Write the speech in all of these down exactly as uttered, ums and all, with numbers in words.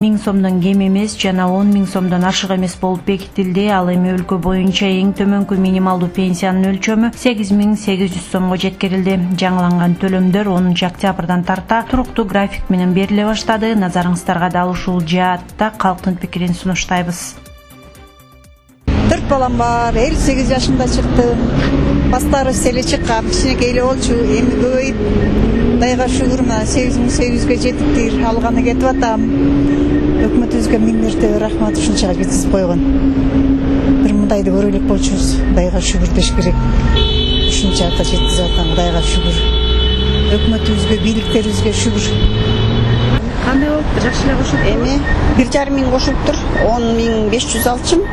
миң сомдон кем эмес жана он миң сомдон ашык эмес болуп бекитилди. Ал эми өлкө боюнча эң төмөнкү минималдуу пенсиянын өлчөмү сегиз миң сегиз жүз сомго жеткирилди. Жаңыланган төлөмдөр онунчу октябрдан тарта туруктуу график менен бериле баштады. Назарыңыздарга дал ушул жаатта калктын пикирин сунуштайбыз. Төрт балам бар, элүү сегиз жашымда чыктым. Бастары селе чыккан, кичинекей эле болчу, эми көбөйүп, Кудайга шүгүр, мына сегиз миң сегиз жүзгө жетиптир, алганы кетип атам. Өкмөтүбүзгө миң мәртебе рахмат, ушунчага жеткизип койгон. Бир мындайды көрө элек болчубуз, Кудайга шүгүр деш керек. Ушунчага жеткизип атам, Кудайга шүгүр. Өкмөтүбүзгө, бийликтерибизге шүгүр. Кандай болуптур? Жакшы эле кошулуп? Эми бир жарым миң кошулуптур, он миң беш жүз алчым,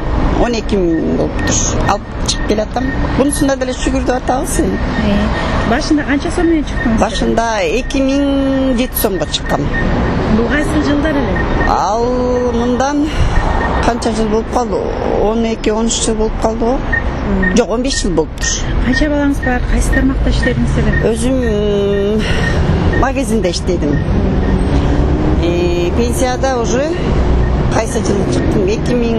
он эки миң болуптур. Алып чыгып келатам. Бунусунда деле шүгүр деп атабыз. Башында канча сом менен чыктыңыз? Башында эки миң жети сомго чыккам. Бул кайсы жылдар эле? Ал мындан канча жыл болуп калды? он эки он үч жыл болуп калды го. Жок, он беш жыл болуптур. Канча балаңыз бар? Кайсы тармакта иштедиңиз эле? Өзүм магазинде иштедим. И пенсияда уже кайсы жыл чыктым? эки миң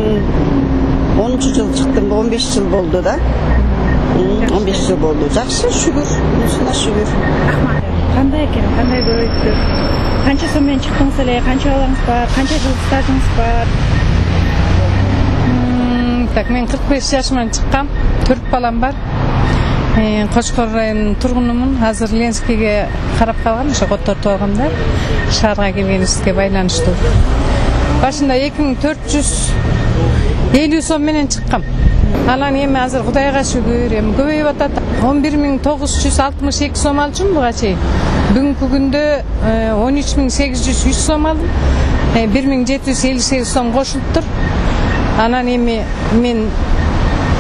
онунчу жыл чыктым, он беш жыл болду да. он беш жыл болду. Жакшы, шүгүр, мусуна шүгүр. Рахмат. Кандай экен? Кандай көбөйттү? Канча сом менен чыктыңыз эле? Канча балаңыз бар? Канча жыл стажыңыз бар? Так, мен кырк беш жашыман чыккам. төрт балам бар. Кошкор районунун тургунумун. Азыр Ленскийге карап калгам, ошо коттортуп алгам да. Шаарга келгенибизге байланыштуу. Башында эки миң төрт жүз элүү сом менен чыккам. Анан эми азыр Кудайга шүгүр, эми көбөйүп атат. он бир миң тогуз жүз алтымыш эки сом алчумун буга чейин. Бүгүнкү күндө он үч миң сегиз жүз үч сом алдым. бир миң жети жүз элүү сегиз сом кошулуптур. Анан эми мен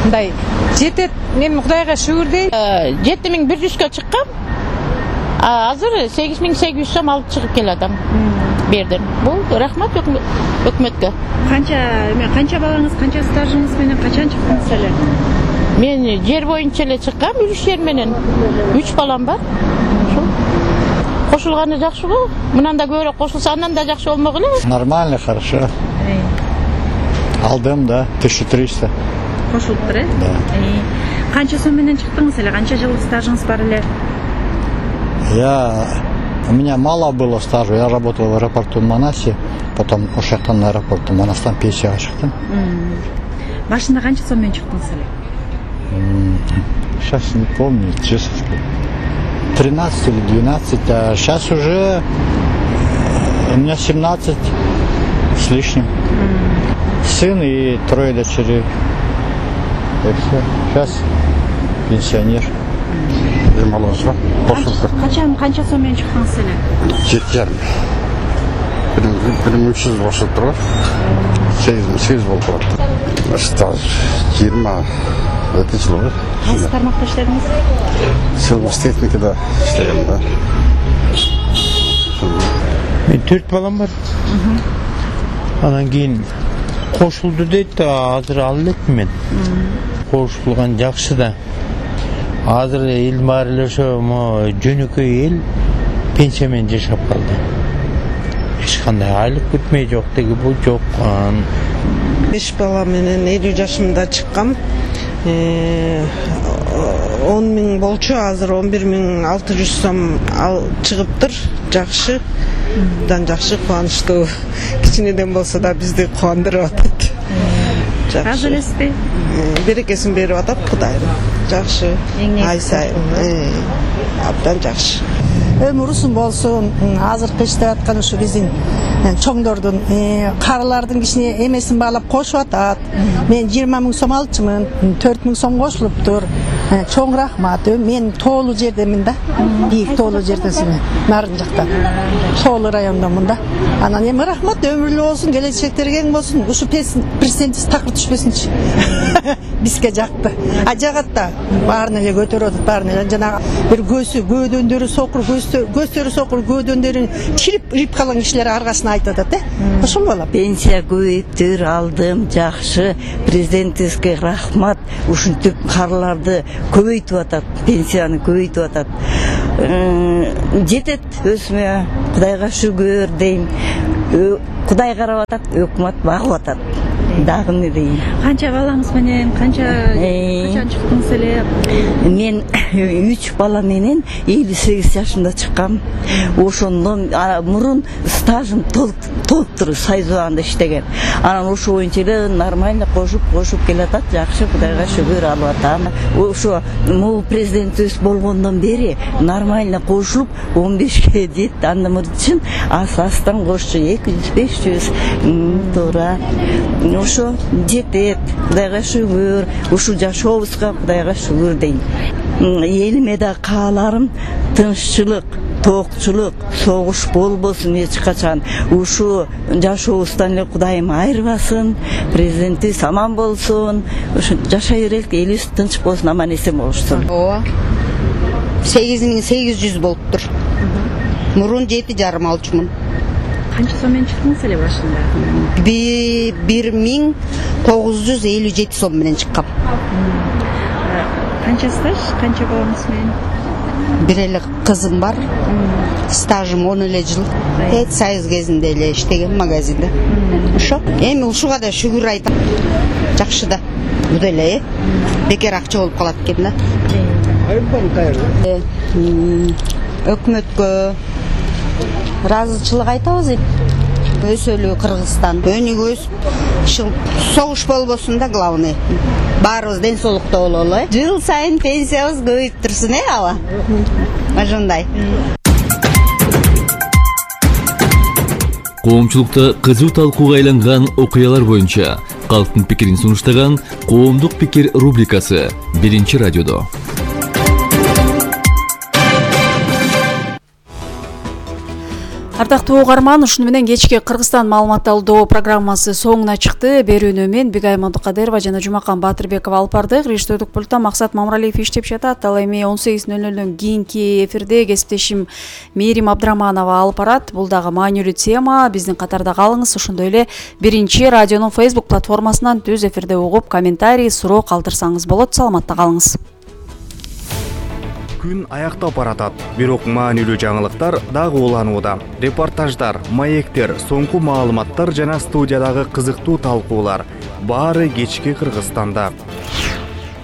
мындай жетет, эми Кудайга шүгүр дейт. жети миң бир жүзгө чыккам. Азыр сегиз миң сегиз жүз сом алып чыгып келатам. Бердим. Бул рахмат өкмөткө. Канча, эме канча балаңыз, канча стажыңыз менен качан чыктыңыз эле? Мен жер боюнча эле чыккам, үч жер менен. үч балам бар. Ошол. Кошулганы жакшы го. Мындан да көбүрөөк кошулса, андан да жакшы болмок эле. Нормально, хорошо. Алдым, да, тысяча триста. Кошулуптур, э? Да. Канча сом менен чыктыңыз эле? Канча жыл стажыңыз бар эле? Я... У меня мало было стажа. Я работал в аэропорту Манасе, потом ушактан на аэропорту Манастан пенсияга чыктым. Башында канча сом менен чыктыңыз эле? Сейчас не помню, честно сказать. тринадцать или двенадцать, а сейчас уже у меня семнадцать с лишним. Сын и трое дочерей. И все. Сейчас пенсионер. Демалышка кошулуптур. Качан канча сом менен чыктыңыз эле? жети жарым. бир миң үч жүз кошулуптур го. сегиз миң сегиз болуп калат. Стаж жыйырма эки жыл болду. Кайсы тармакта иштедиңиз? Сельхозтехникада иштегем да. Мен төрт балам бар. Анан кийин кошулду дейт, азыр ал элекмин мен. Кошулган жакшы да. Азыр эл баары эле ошо жөнөкөй эл пенсия менен жашап калды. Эч кандай айлык күтмөй жок деги бул жок. беш бала менен элүү жашымда чыккам. он миң болчу, азыр он бир миң алты жүз сом ал чыгыптыр. Жакшы. Дан жакшы, кубанычтуу. Кичинеден болсо да бизди кубандырып атат. Азыр элеспи? Берекесин берип атат Кудайым. Жакшы. Ай сайын. Абдан жакшы. Өмүр узун болсун. Азыркы иштеп аткан ушу биздин чоңдордун, карылардын кичине эмесин баалап кошуп атат. Мен жыйырма миң сом алчумун, төрт миң сом кошулуптур. Чоң рахмат. Мен тоолуу жердемин да. Бийик тоолуу жердесин. Нарын жакта. Тоолуу райондомун да. Анан эми рахмат, өмүрлүү болсун, келечектерге кең болсун. Ушу президентибиз такыр түшпөсүнчү. Бизге жакты. А жагат да баарын эле көтөрүп атат, баарын эле жанагы бир көзү, көөдөндөрү сокур, көздөрү сокур, көөдөндөрүн чирип ирип калган кишилер аркасына айтып атат, э? Ошол болот. Пенсия көбөйүптүр, алдым, жакшы. Президентибизге рахмат. Ушинтип карыларды көбөйтүп атат, пенсияны көбөйтүп атат. Жетет өзүмө, Кудайга шүгүр дейм. Кудай карап атат, өкмөт багып атат. Дагы эмне дейин? Канча балаңыз менен, канча качан чыктыңыз эле? Мен үч бала менен элүү сегиз жашымда чыккам. Ошондон мурун стажым толуктур Сайзуанда иштеген. Анан ошо боюнча эле нормально кошуп кошуп келатат, жакшы, Кудайга шүгүр алып атам. Ошо могул президентибиз болгондон бери нормально кошулуп он бешке жетти. Андан үчүн ас-астан кошчу эки жүз беш жүз туура. Ошо жетет, Кудайга шүгүр. Ушу жашообузга Кудайга шүгүр дейм. Элиме да кааларым тынччылык, тоокчулук, согуш болбосун эч качан. Ушу жашообуздан эле Кудайым айырбасын, президентибиз аман болсун. Ушу жашай берелик, элибиз тынч болсун, аман эсен болушсун. Ооба. сегиз миң сегиз жүз болуптур. Мурун жети жарым алчумун. Канча сом менен чыктыңыз эле башында? бир миң тогуз жүз элүү жети сом менен чыккам. Канча стаж, канча балаңыз менен? Бир эле кызым бар. Стажым он эле жыл. Эт Союз кезинде эле иштеген магазинде. Ошо. Эми ушуга да шүгүр айтам. Жакшы да. Бу деле бекер акча болуп калат экен да. Өкмөткө ыраазычылык айтабыз. Өсөлү Кыргызстан. Өнүгөбүз. Согуш болбосун да, главный. Баарыбыз ден соолукта бололу. Жыл сайын пенсиябыз көбөйүп турсун, э, ала. Ошондой. Коомчулукта кызуу талкууга айланган окуялар боюнча калктын пикирин сунуштаган Коомдук пикир рубрикасы биринчи радиодо. Ардактуу угарман, ушуну менен кечки Кыргызстан маалымат алуу программасы соңуна чыкты. Берүүнү мен Бигай Мамдыкадырова жана Жумакан Батырбеков алып бардык. Рештөөдүк пультта Максат Мамралиев иштеп жатат. Ал эми он сегиз нөл нөлдөн кийинки эфирде кесиптешим Мээрим Абдыраманова алып барат. Бул дагы маанилүү тема. Биздин катарда калыңыз. Ошондой эле биринчи радионун Facebook платформасынан түз эфирде угуп, комментарий, суроо калтырсаңыз болот. Саламатта калыңыз. Күн аяктап баратат, бирок маанилүү жаңылыктар дагы уланууда. Репортаждар, маектер, соңку маалыматтар жана студиядагы кызыктуу талкуулар баары кечки Кыргызстанда.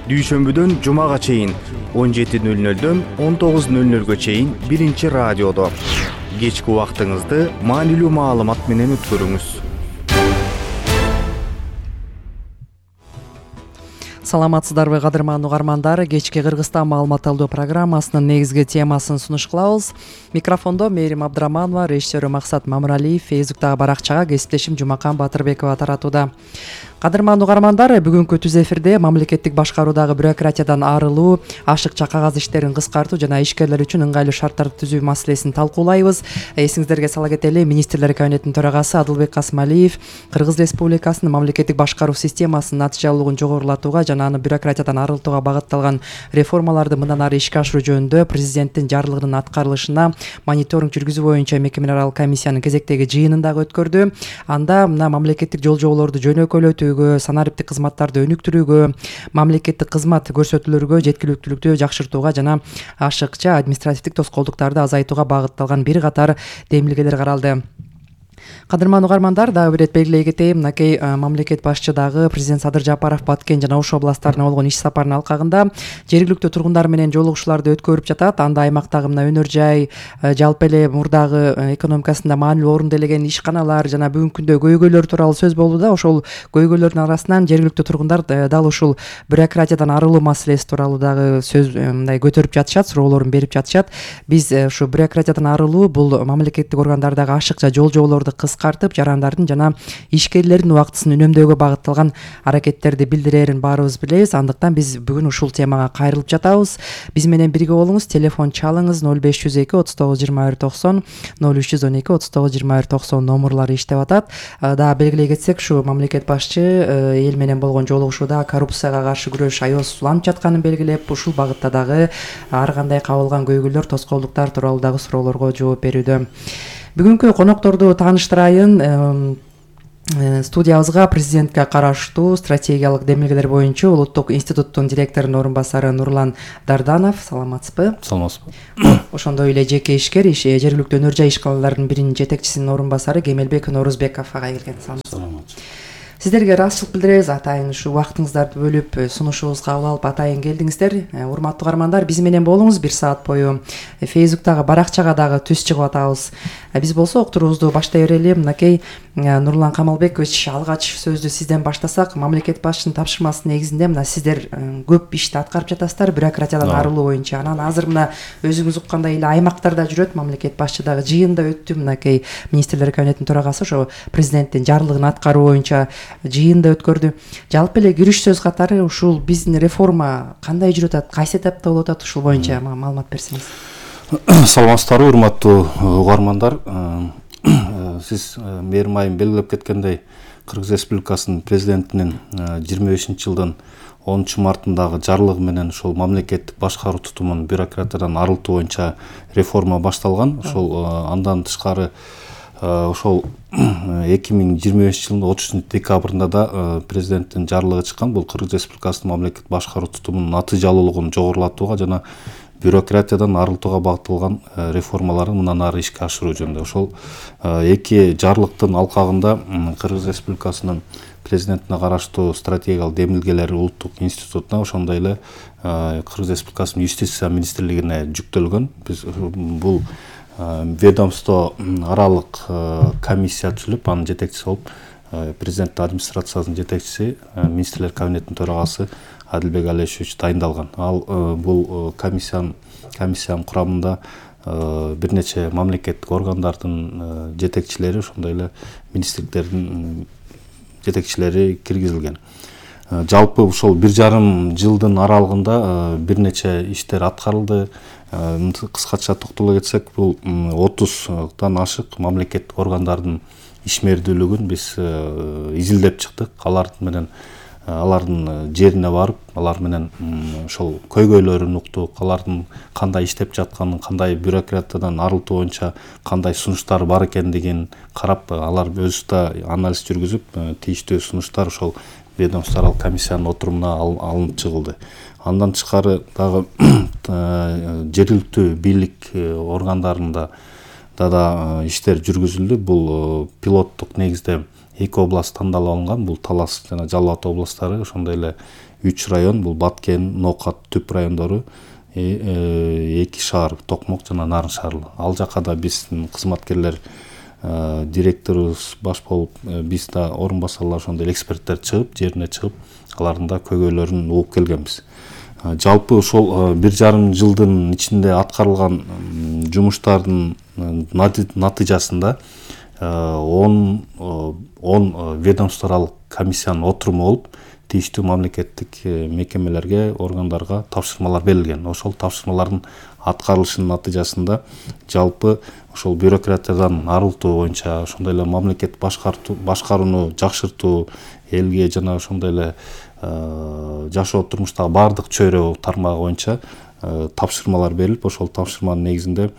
Дүйшөмбүдөн жумага чейин он жети нөл нөлдөн он тогуз нөл нөлгө чейин биринчи радиодо. Кечки убактыңызды маанилүү маалымат менен өткөрүңүз. Саламатсыздарбы кадырман угармандар, кечки Кыргызстан маалымат алуу программасынын негизги темасын сунуш кылабыз. Микрофондо Мээрим Абдыраманова, режиссеру Максат Мамралиев, Фейсбуктагы баракчага кесиптешим Жумакан Батырбекова таратууда. Кадырман угармандар, бүгүнкү түз эфирде мамлекеттик башкаруудагы бюрократиядан арылуу, ашыкча кагаз иштерин кыскартуу жана ишкерлер үчүн ыңгайлуу шарттарды түзүү маселесин талкуулайбыз. Эсиңиздерге сала кетели, министрлер кабинетинин төрагасы Адылбек Касымалиев Кыргыз Республикасынын мамлекеттик башкаруу системасынын натыйжалуулугун жогорулатууга жана аны бюрократиядан арылтууга багытталган реформаларды мындан ары ишке ашыруу жөнүндө президенттин жарлыгынын аткарылышына мониторинг жүргүзүү боюнча мекемелер аралык комиссиянын кезектеги жыйынын дагы өткөрдү. Анда мына мамлекеттик жол жоболорду жөнөкөйлөтүү, санариптик кызматтарды өнүктүрүүгө, мамлекеттик кызмат көрсөтүүлөргө жеткиликтүүлүктү жакшыртууга жана ашыкча административдик тоскоолдуктарды азайтууга багытталган бир катар демилгелер каралды. Кадырман угармандар, дагы бир ирет белгилей кетейин, мынакей мамлекет башчы дагы президент Садыр Жапаров Баткен жана Ош областтарына болгон иш сапарынын алкагында жергиликтүү тургундар менен жолугушууларды өткөрүп жатат. Анда аймактагы мына өнөр жай, жалпы эле мурдагы экономикасында маанилүү орун элеген ишканалар жана бүгүнкү күндө көйгөйлөр тууралуу сөз болууда. Ошол көйгөйлөрдүн арасынан жергиликтүү тургундар дал ушул бюрократиядан арылуу маселеси тууралуу дагы сөз мындай көтөрүп жатышат, суроолорун берип жатышат. Биз ушу бюрократиядан арылуу бул мамлекеттик органдардагы ашыкча жол жоболорду кыскартып, жарандардын жана ишкерлердин убактысын үнөмдөөгө багытталган аракеттерди билдирерин баарыбыз билебиз. Андыктан биз бүгүн ушул темага кайрылып жатабыз. Биз менен бирге болуңуз. Телефон чалыңыз ноль беш жүз эки отуз тогуз жыйырма бир токсон, ноль үч жүз он эки отуз тогуз жыйырма бир токсон номурлары иштеп атат. Дагы белгилей кетсек, ушу мамлекет башчы эл менен болгон жолугушууда коррупцияга каршы күрөш аябыз уланып жатканын белгилеп, ушул багытта дагы ар кандай кабылган көйгөйлөр, тоскоолдуктар тууралуу дагы суроолорго жооп берүүдө. Бүгүнкү конокторду тааныштырайын. Студиябызга президентке караштуу стратегиялык демилгелер боюнча Улуттук институттун директорунун орун басары Нурлан Дарданов. Саламатсызбы? Саламатсызбы. Ошондой эле жеке ишкер, жергиликтүү өнөр жай ишканаларынын биринин жетекчисинин орун басары Кемелбек Норузбеков ага келген. Саламатсызбы. Сиздерге ыраазычылык билдиребиз, атайын ушу убактыңыздарды бөлүп сунушубузга кабыл алып атайын келдиңиздер. Урматтуу угармандар, биз менен болуңуз. Бир саат бою Фейсбуктагы баракчага дагы түз чыгып атабыз. Биз болсо уктуруубузду баштай берели. Мынакей Нурлан Камалбекович, алгач сөздү сизден баштасак, мамлекет башчынын тапшырмасы негизинде мына сиздер көп ишти аткарып жатасыздар, бюрократиядан арылуу боюнча. Анан азыр мына өзүңүз уккандай эле аймактарда жүрөт, мамлекет башчы дагы жыйында өттү. Мынакей министрлер кабинетинин төрагасы ошо президенттин жарлыгын аткаруу боюнча жыйында өткөрдү. Жалпы эле кириш сөз катары ушул биздин реформа кандай жүрүп атат, кайсы этапта болуп атат, ушул боюнча маалымат берсеңиз. Саламатсыздарбы, урматтуу угармандар. Сиз мээрим айым белгилеп кеткендей, Кыргыз Республикасынын президентинин жыйырма бешинчи жылдын онунчу мартындагы жарлыгы менен ушул мамлекеттик башкаруу тутумун бюрократиядан арылтуу боюнча реформа башталган. Ошол андан тышкары ошол эки миң жыйырма бешинчи жылдын отузунчу декабрында да президенттин жарлыгы чыккан. Бул Кыргыз Республикасынын мамлекеттик башкаруу тутумунун натыйжалуулугун жогорулатууга жана бюрократиядан арылтууга багытталган реформаларын мындан ары ишке ашыруу жөнүндө. Ошол эки жарлыктын алкагында Кыргыз Республикасынын президентине караштуу стратегиялык демилгелер Улуттук институтуна, ошондой эле Кыргыз Республикасынын юстиция министрлигине жүктөлгөн. Биз бул ведомство аралык комиссия түзүлүп, анын жетекчиси болуп президенттин администрациясынын жетекчиси, министрлер кабинетинин төрагасы Адилбек Алешевич дайындалган. Ал бул комиссиянын комиссиянын курамында бир нече мамлекеттик органдардын жетекчилери, ошондой эле министрликтердин жетекчилери киргизилген. Жалпы ошол бир жарым жылдын аралыгында бир нече иштер аткарылды. Кыскача токтоло кетсек, бул отуздан ашык мамлекеттик органдардын ишмердүүлүгүн биз изилдеп чыктык. Алардын менен алардын жерине барып, алар менен ошол көйгөйлөрүн уктук, алардын кандай иштеп жатканын, кандай бюрократиядан арылтуу боюнча кандай сунуштар бар экендигин карап, алар өзү да анализ жүргүзүп, тийиштүү сунуштар ошол ведомстволук комиссиянын отурумуна алынып чыгылды. Андан тышкары дагы жергиликтүү бийлик органдарында да иштер жүргүзүлдү. Бул пилоттук негизде эки област тандалып алынган. Бул Талас жана Жалал Абад областтары, ошондой эле үч район, бул Баткен, Нокат, Түп райондору, эки шаар, Токмок жана Нарын шаары. Ал жака да биздин кызматкерлер, директорубуз баш болуп, биз да орун басарлар, ошондой эксперттер чыгып, жерине чыгып, алардын да көйгөйлөрүн угуп келгенбиз. Жалпы ошол бир жарым жылдын ичинде аткарылган жумуштардын натыйжасында он ведомстволук комиссиянын отуруму болуп, тийиштүү мамлекеттик мекемелерге, органдарга тапшырмалар берилген. Ошол тапшырмалардын аткарылышынын натыйжасында жалпы ошол бюрократиядан арылтуу боюнча, ошондой эле мамлекет башкарууну жакшыртуу, элге жана ошондой эле жашоо турмуштагы баардык чөйрө тармагы боюнча тапшырмалар берилип, ошол тапшырманын негизинде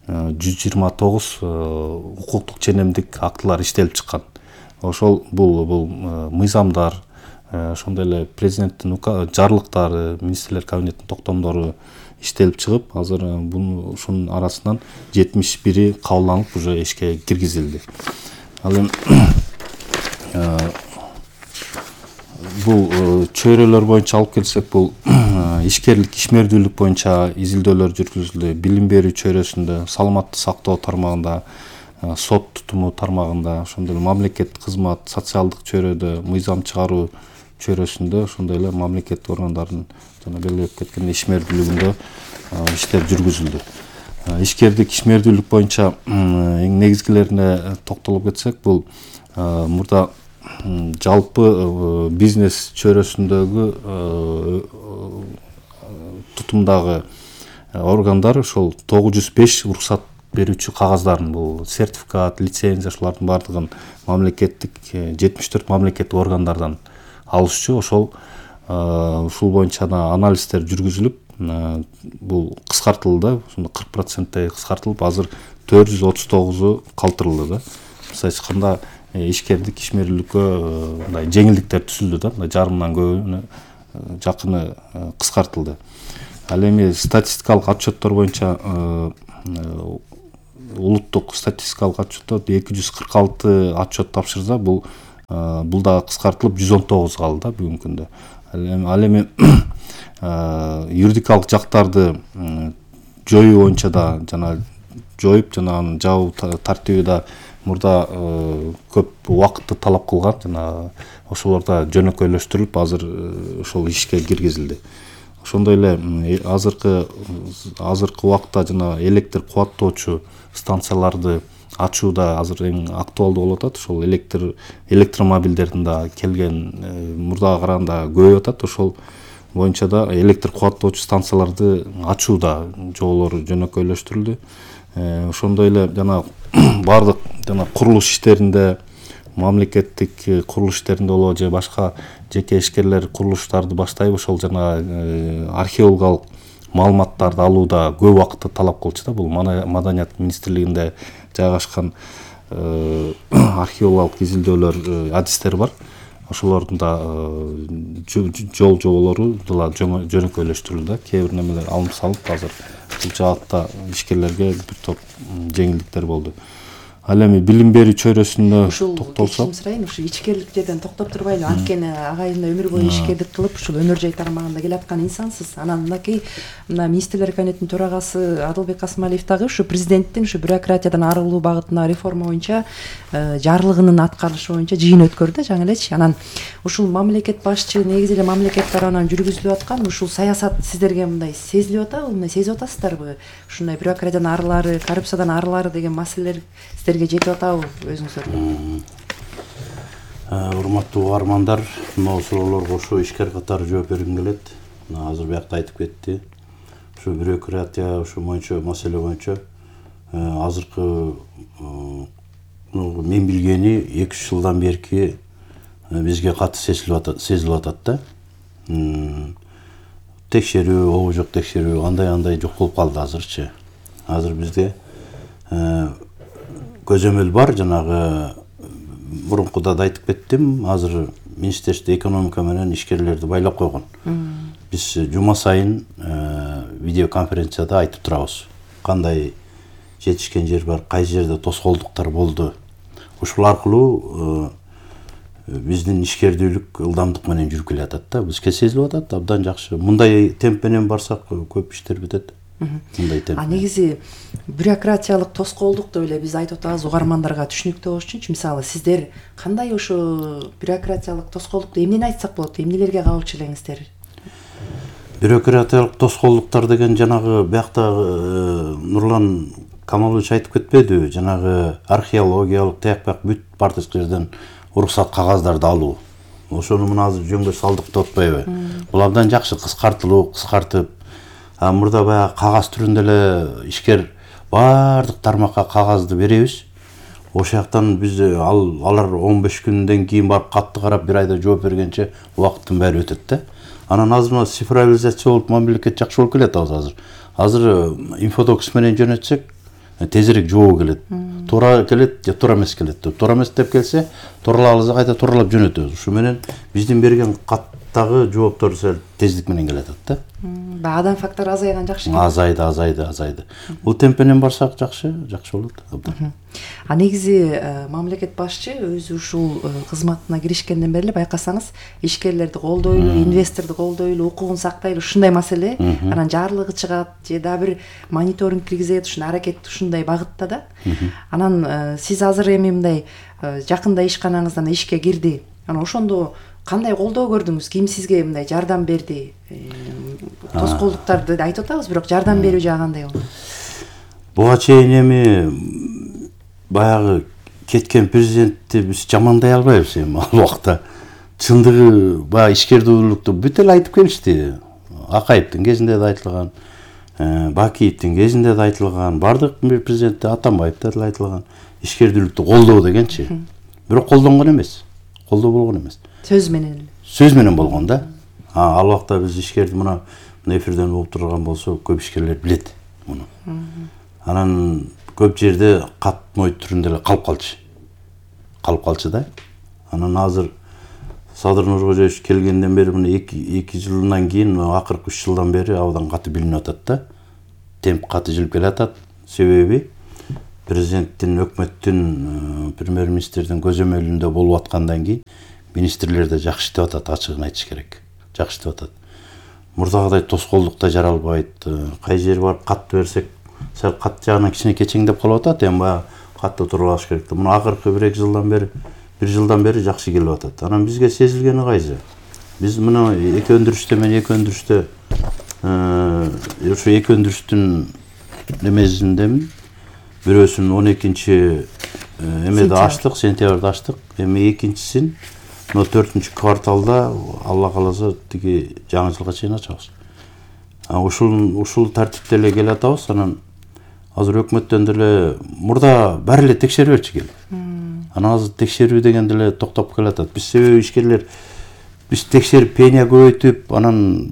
жүз жыйырма тогуз укуктук ченемдик актылар иштелип чыккан. Ошол бул бул мыйзамдар, ошондой эле президенттин жарлыктары, министрлер кабинетинин токтомдору иштелип чыгып, азыр бул ушунун арасынан жетимиш бири кабылданып уже ишке киргизилди. Ал эми бул чөйрөлөр боюнча алып келсек, бул ишкерлик, ишмердүүлүк боюнча изилдөөлөр жүргүзүлдү. Билим берүү чөйрөсүндө, саламаттык сактоо тармагында, сот тутуму тармагында, ошондой эле мамлекеттик кызмат, социалдык чөйрөдө, мыйзам чыгаруу чөйрөсүндө, ошондой эле мамлекеттик органдардын жана белгилеп кеткен ишмердүүлүгүндө иштер жүргүзүлдү. Ишкердик, ишмердүүлүк боюнча эң негизгилерине токтолуп кетсек, бул мурда жалпы бизнес чөйрөсүндөгү тутумдагы органдар ошол тогуз жүз беш уруксат берүүчү кагаздарын, бул сертификат, лицензия, ушулардын баардыгын мамлекеттик жетимиш төрт мамлекеттик органдардан алышчу. Ошол ушул боюнча да анализдер жүргүзүлүп, бул кыскартылды, кырк проценттей кыскартылып, азыр төрт жүз отуз тогузу калтырылды да. Мисалы айтканда ишкердик ишмерликкө мындай жеңилдиктер түзүлдү да, мындай жарымдан көбүнө жакыны кыскартылды. Ал эми статистикалык отчеттор боюнча улуттук статистикалык отчеттор эки жүз кырк алты отчет тапшырса, бул бул да кыскартылып жүз он тогуз калды да бүгүнкү күндө. Ал эми юридикалык жактарды жоюу боюнча да жана жоюп жана анын жабуу тартиби да мурда көп убакытты талап кылган, жана ошолор да жөнөкөйлөштүрүлүп азыр ошол ишке киргизилди. Ошондой эле азыркы азыркы убакта жана электр кубаттоочу станцияларды ачуу да азыр эң актуалдуу болуп атат. Ошол электр электромобилдердин да келген мурдага караганда көбөйүп атат. Ошол боюнча да электр кубаттоочу станцияларды ачуу да жолдору жөнөкөйлөштүрүлдү. Ошондой эле жана бардык жана курулуш иштеринде, мамлекеттик курулуш иштеринде болобу же башка жеке ишкерлер курулуштарды баштайбы, ошол жана археологиялык маалыматтарды алууда көп убакытты талап кылчу да. Бул Маданият министрлигинде жайгашкан археологиялык изилдөөлөр, адистер бар. Ошолордун да жол жоболору да жөнөкөйлөштүрүлдү да. Кээ бир немелер алынып салып, азыр бул жаатта ишкерлерге бир топ жеңилдиктер болду. Ал эми билим берүү чөйрөсүнө токтолсок, ушул сурайын, ушу ичкерлик жерден токтоп турбайлы. Анткени агайында өмүр бою ишкерлик кылып, ушул өнөр жай тармагында келаткан инсансыз. Анан мынакей мына министрлер кабинетинин төрагасы Адылбек Касымалиев дагы ушу президенттин ушу бюрократиядан арылуу багытына реформа боюнча жарлыгынын аткарылышы боюнча жыйын өткөрдү жаңы элечи. Анан ушул мамлекет башчы негизи эле мамлекет тарабынан жүргүзүлүп аткан ушул саясат сиздерге мындай сезилип атабы, мындай сезип атасыздарбы? Ушундай бюрократиядан арылары, коррупциядан арылары деген маселелер сиздерге жетип атабы өзүңүздөргө? Урматтуу угармандар, мына суроолорго ошо ишкер катары жооп бергим келет. Азыр биякта айтып кетти. Ушу бюрократия, ушу боюнча маселе боюнча азыркы мен билгени эки үч жылдан берки бизге катты сезилип атат да. Текшерүү, обу жок текшерүү, андай-андай жок болуп калды азырчы. Азыр бизде көзөмөл бар, жанагы мурункуда да айтып кеттим, азыр Министрликте экономика менен ишкерлерди байлап койгон. Биз жума сайын видеоконференцияда айтып турабыз. Кандай жетишкен жер бар, кайсы жерде тоскоолдуктар болду. Ушул аркылуу биздин ишкердүүлүк ылдамдык менен жүрүп келатат да. Бизге сезилип атат, абдан жакшы. Мындай темп менен барсак көп иштер бүтөт. А негизи бюрократиялык тоскоолдук деп эле биз айтып атабыз угармандарга түшүнүктүү болуш үчүнчү. Мисалы сиздер кандай ошо бюрократиялык тоскоолдукту эмнени айтсак болот, эмнелерге кабылчу элеңиздер? Бюрократиялык тоскоолдуктар деген жанагы бияктагы Нурлан Камалович айтып кетпедиби? Жанагы археологиялык тияк-бияк бүт бардык жерден уруксат кагаздарды алуу. Ошону мына азыр жөнгө салдык деп атпайбы? Бул абдан жакшы кыскартылуу, кыскартып, а мурда баягы кагаз түрүндө эле ишкер бардык тармакка кагазды беребиз. Ошол жактан биз ал алар он беш күндөн кийин барып катты карап бир айда жооп бергенче убакыттын баары өтөт да. Анан азыр мына цифровизация болуп мамлекет жакшы болуп келет азыр. Азыр инфодокс менен жөнөтсөк тезирээк жообу келет. Туура келет же туура эмес келет деп. Туура эмес деп келсе, тууралабызды кайта тууралап жөнөтөбүз. Ушу менен биздин берген каттагы жооптор сел тездик менен келет да. Баадан фактор азайган жакшы. Азайды, азайды, азайды. Бул темп менен барсак жакшы, жакшы болот. А негизи мамлекет башчы өзү ушул кызматына киришкенден бери эле байкасаңыз, ишкерлерди колдойлу, инвесторду колдойлу, укугун сактайлы ушундай маселе, анан жарлыгы чыгат же дагы бир мониторинг киргизет, ушуну аракет ушундай багытта да. Анан сиз азыр эми мындай жакында ишканаңыздан ишке кирди. Анан ошондо кандай колдоо көрдүңүз? Ким сизге мындай жардам берди? Тоскоолдуктарды айтып атабыз, бирок жардам берүү жагы кандай болду? Буга чейин эми баягы кеткен президентти биз жамандай албайбыз эми ал убакта. Чындыгы баягы ишкердүүлүктү бүт эле айтып келишти. Акаевдин кезинде да айтылган, Бакиевдин кезинде да айтылган, бардык бир президентте Атамбаевде да айтылган. Ишкердүүлүктү колдоо дегенчи. Бирок колдонгон эмес. Колдоо болгон эмес. Сөз менен эле. Сөз менен болгон да. А ал убакта биз ишкерди мына эфирден болуп турган болсо көп ишкерлер билет муну. Анан көп жерде катмой түрүндө эле калып калчу. калып калчу да. Анан азыр Садыр Нуркожоевич келгенден бери мына эки жылдан кийин акыркы үч жылдан бери абдан каты билинип атат да. Темп каты жылып келатат. Себеби президенттин, өкмөттүн, премьер-министрдин көзөмөлүндө болуп аткандан кийин министрлер да жакшы иштеп атат, ачыгын айтыш керек. Жакшы иштеп атат. Мурдагыдай тоскоолдук да жаралбайт. Кай жери барып катты берсек, сал кат жагынан кичине кечеңдеп калып атат, эми баягы катты туруп алыш керек. Муну акыркы бир эки жылдан бери, бир жылдан бери жакшы келип атат. Анан бизге сезилгени кайсы? Биз мына эки өндүрүштө мен эки өндүрүштө ошо эки өндүрүштүн немесиндемин. Бирөөсүн он экинчи эмеде ачтык, сентябрда ачтык. Эми экинчисин но төртүнчү кварталда Алла кааласа тиги жаңы жылга чейин ачабыз. Ушул ушул тартипте эле келе атабыз. Анан азыр өкмөттөн деле мурда баары эле текшерип берчү келип. Анан азыр текшерүү деген деле токтоп келатат. Биз себеби ишкерлер биз текшерип пения көбөйтүп, анан